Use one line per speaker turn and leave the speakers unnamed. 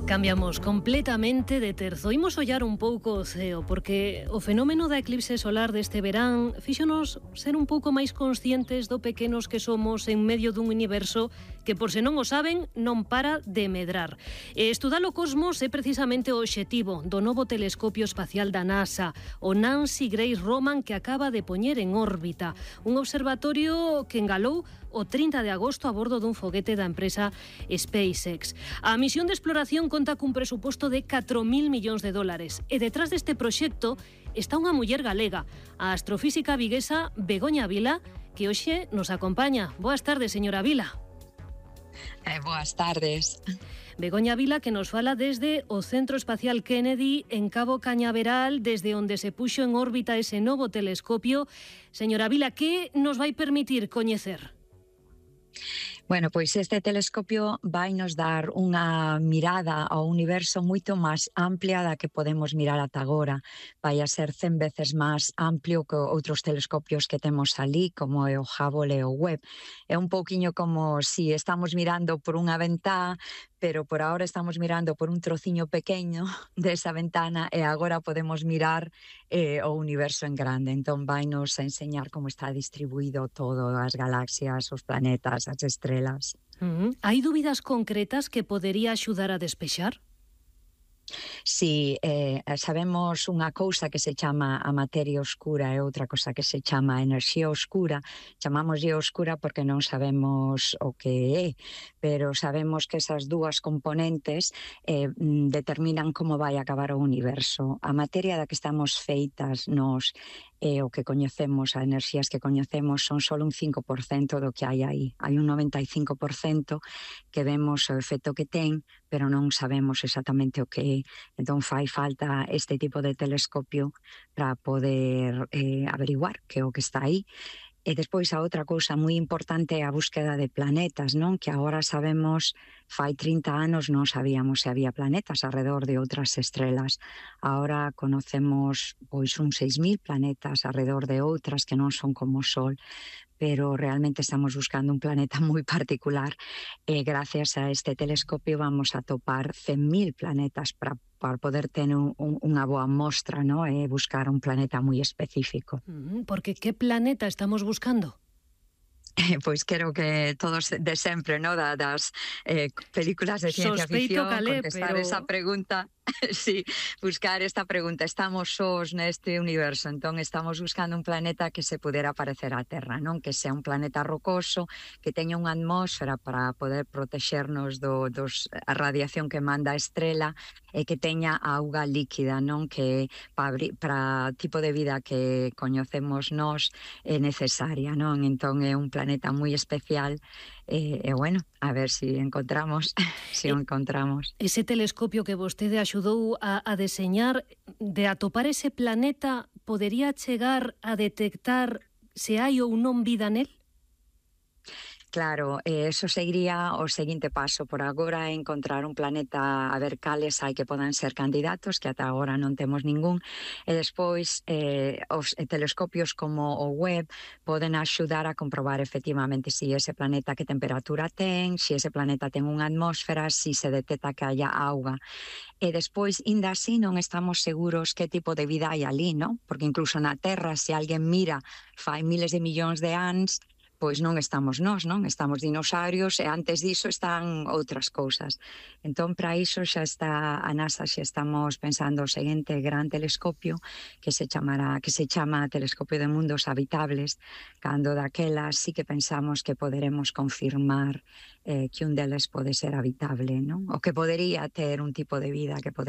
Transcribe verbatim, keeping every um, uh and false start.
Cambiamos completamente de terzo. Imos ollar un pouco o ceo, porque o fenómeno da eclipse solar deste verán fíxonos ser un pouco máis conscientes do pequenos que somos en medio dun universo que, por se non o saben, non para de medrar. E estudar o cosmos é precisamente o obxectivo do novo telescopio espacial da NASA, o Nancy Grace Roman, que acaba de poñer en órbita. Un observatorio que engalou o trinta de agosto a bordo dun foguete da empresa SpaceX. A misión de exploración conta cun presuposto de catro mil millóns de dólares e detrás deste proxecto está unha muller galega, a astrofísica viguesa Begoña Vila, que hoxe nos acompaña. Boas tardes, señora Vila.
Eh, boas tardes.
Begoña Vila, que nos fala desde o Centro Espacial Kennedy en Cabo Cañaveral, desde onde se puxo en órbita ese novo telescopio. Señora Vila, que nos vai permitir coñecer?
Bueno, pois este telescopio vai nos dar unha mirada ao universo moito máis amplia da que podemos mirar ata agora. Vai a ser cen veces máis amplio que outros telescopios que temos ali, como é o Hubble e o Webb. É un pouquiño como si estamos mirando por unha ventá, pero por ahora estamos mirando por un trociño pequeño desa ventana e agora podemos mirar eh, o universo en grande. Entón vai nos a enseñar como está distribuído todo, as galaxias, os planetas, as estrelas.
Uh-huh. Hai dúbidas concretas que podería axudar a despexar?
Si, eh, sabemos unha cousa que se chama a materia oscura e outra cousa que se chama a enerxía oscura. Chamámoslle oscura porque non sabemos o que é, pero sabemos que esas dúas componentes eh, determinan como vai acabar o universo. A materia da que estamos feitas nos e o que coñecemos, as enerxías que coñecemos, son só un cinco por cento do que hai aí. Hai un noventa e cinco por cento que vemos o efecto que ten, pero non sabemos exactamente o que é. Entón fai falta este tipo de telescopio para poder eh, averiguar que é o que está aí. E despois a outra cousa moi importante é a búsqueda de planetas, non? Que agora sabemos, fai trinta anos non sabíamos se había planetas alrededor de outras estrelas. Agora conocemos pois uns seis mil planetas alrededor de outras que non son como o Sol, pero realmente estamos buscando un planeta moi particular e gracias a este telescopio vamos a topar cen mil planetas para para poder ter un, un, unha boa mostra, no? E buscar un planeta moi específico.
Mm, porque que planeta estamos buscando?
Pois quero que todos de sempre, no? Da, das eh, películas de ciencia
Sospeito
ficción,
calé,
contestar
pero...
esa pregunta. Sí, buscar esta pregunta. Estamos sós neste universo, entón estamos buscando un planeta que se pudera parecer á Terra, non? Que sea un planeta rocoso, que teña unha atmósfera para poder protexernos do, dos, a radiación que manda a estrela e que teña auga líquida, non? Que para o tipo de vida que coñecemos nós é necesaria, non? Entón é un planeta moi especial e, e bueno, a ver se si encontramos, se si o encontramos.
Ese telescopio que vostede axudou a, a deseñar, de atopar ese planeta, podería chegar a detectar se hai ou non vida nel?
Claro, eh, eso seguiría o seguinte paso. Por agora é encontrar un planeta, a ver cales hai que podan ser candidatos, que ata agora non temos ningún, e despois eh, os telescopios como o Webb poden axudar a comprobar efectivamente se si ese planeta que temperatura ten, se si ese planeta ten unha atmósfera, se si se detecta que haya auga. E despois, inda así, non estamos seguros que tipo de vida hai ali, non? Porque incluso na Terra, se alguén mira fai miles de millóns de anos, pois non estamos nós, non? Estamos dinosaurios e antes diso están outras cousas. Entón, para iso xa está a NASA, xa estamos pensando o seguinte gran telescopio que se chamará, que se chama Telescopio de Mundos Habitables, cando daquela sí que pensamos que poderemos confirmar eh, que un deles pode ser habitable, non? O que podería ter un tipo de vida que podería